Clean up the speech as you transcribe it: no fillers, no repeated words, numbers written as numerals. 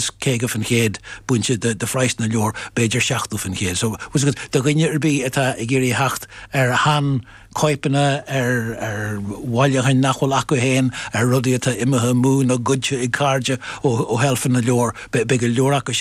50% bainte de phraghas na leabhar, b'fhéidir 70%. So, do dhuine ar bith atá ag iarraidh theacht ar shean chóipeanna, ar ar bhailiúcháin nach bhfuil acu féin, ar rudaí atá imithe amú nó goidte ag cairde ó sheilfeanna leabhar, beidh go leor acu sin.